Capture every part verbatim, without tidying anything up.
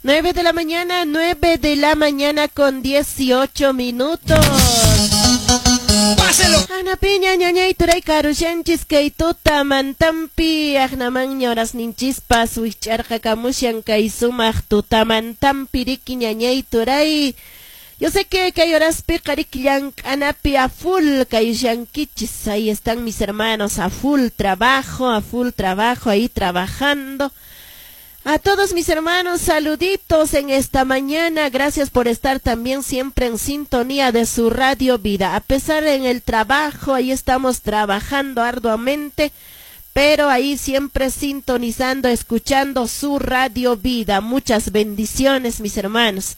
Nueve de la mañana, nueve de la mañana con dieciocho minutos. Páselo. Ana piña ñañay turay karushanchis kay tutamantampi aqnaman ñorasninchispas wich'arqakamushan kay sumaq tutamantampi riki ñañay turay. Yo sé que kay horaspiqa riki llank'anapi a full kayushankichis. Ahí están mis hermanos a full trabajo, a full trabajo ahí trabajando. A todos mis hermanos, saluditos en esta mañana. Gracias por estar también siempre en sintonía de su Radio Vida. A pesar en el trabajo, ahí estamos trabajando arduamente, pero ahí siempre sintonizando, escuchando su Radio Vida. Muchas bendiciones, mis hermanos.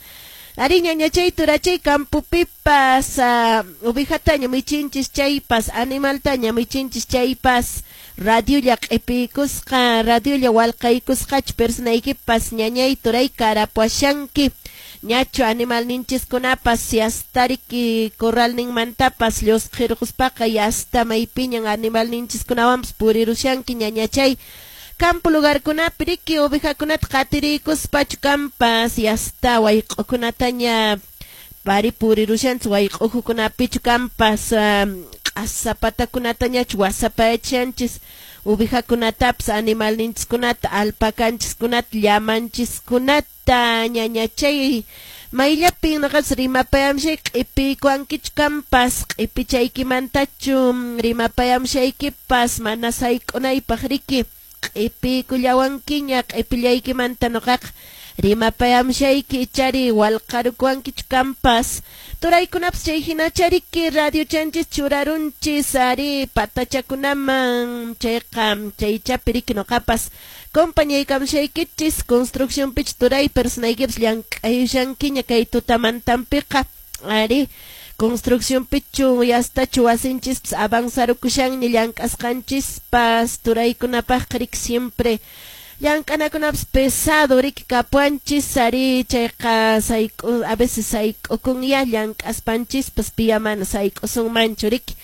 Arí ñañachay turachay campopipas, uh, ovejataña michinchis chaypas, animaltaña michinchis chaypas, radiolla q'ipiykusqa, radiolla walqaykusqachu personaykipas ñañay turay karapuashanki. Ñachu animalninchiskunapas yastariki corralninmantapas llusqirquspaqa yasta maypiñan animalninchiskunawanpas purirushanki ñañachay. Campo lugarkunapi riki ovejakunata qatiriykuspachu kampas yasta wayq'ukunataña pari purirushanchis wayq'ukukunapichu kampas um, q'asapatakunatañachu wasapayachanchis ovejakunatapas animalninchiskunata alpakanchiskunata llamanchiskunata ñañachay. Mayllapin noqapas rimapayamshay q'ipiykuwankichu kampas q'ipichaykimantachu rimapayamshaykipas mana sayk'unaypaq riki q'ipiykullawankiña q'ipillaykimanta noqaqa rimapayamshayki ichari walqarukuwankichu kampas. Turaykunapas chay hinachariki radiochanchis churarunchis ari patachakunaman chayqa chaychapi riki noqapas compañaykamshaykichis construccionpichu turay personaykipas llank'ayushankiña kay tutamantampiqa ari construccionpichu yastachu wasinchispas avanzarukushanña llank'asqanchispas turaykunapaqqa riki siempre llank'anakunapas pesado riki kapuanchis ari chayqa sayk'u a veces sayk'ukunya llank'aspanchispas piya mana sayk'usunmanchu riki.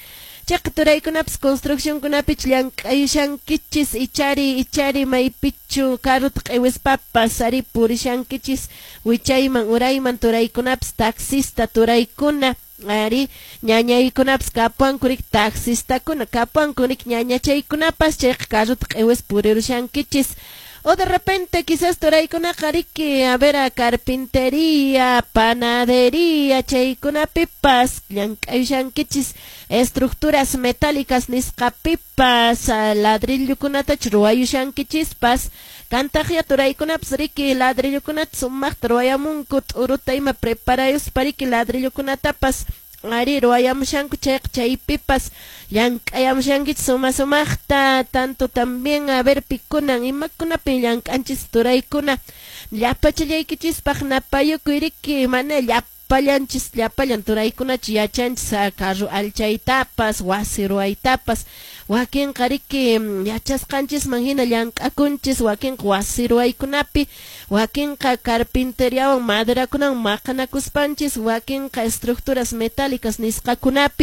Chayqa turaykunapas construccionkunapichu llank'ayushankichis ichari ichari maypichu carrota q'iwispapas ari purishankichis wichayman urayman turaykunapas taxista turaykuna ari ñañaykunapas kapuanku riki taxistakuna kapuanku riki ñañachaykunapas chayqa carrota q'iwis purirushankichis. O de repente quizás turaykunaqa riki a ver a carpintería, panadería, chaykunapipas llank'ayushankichis estructuras metálicas nisqapipas ladrillokunatachu ruwayushankichispas kantaqya turaykunapas riki ladrillokunata sumaqta ruwayamunku t'uruta ima preparayuspa riki ladrillokunatapas ari ruwayamushanku chayqa chaypipas llank'ayamushankichis suma sumaqta tanto también a ver pikunan imakunapi llank'anchis turaykuna llapachallaykichispaq napayukuy riki mana llapallanchis llapallan turaykunachu yachanchis carro alchaytapas wasi ruwaytapas wakinqa riki yachasqanchisman hina llank'akunchis wakinqa wasi ruwaykunapi wakinqa carpinteriawan maderakunawan maqanakuspanchis wakinqa estructuras metálicas nisqakunapi.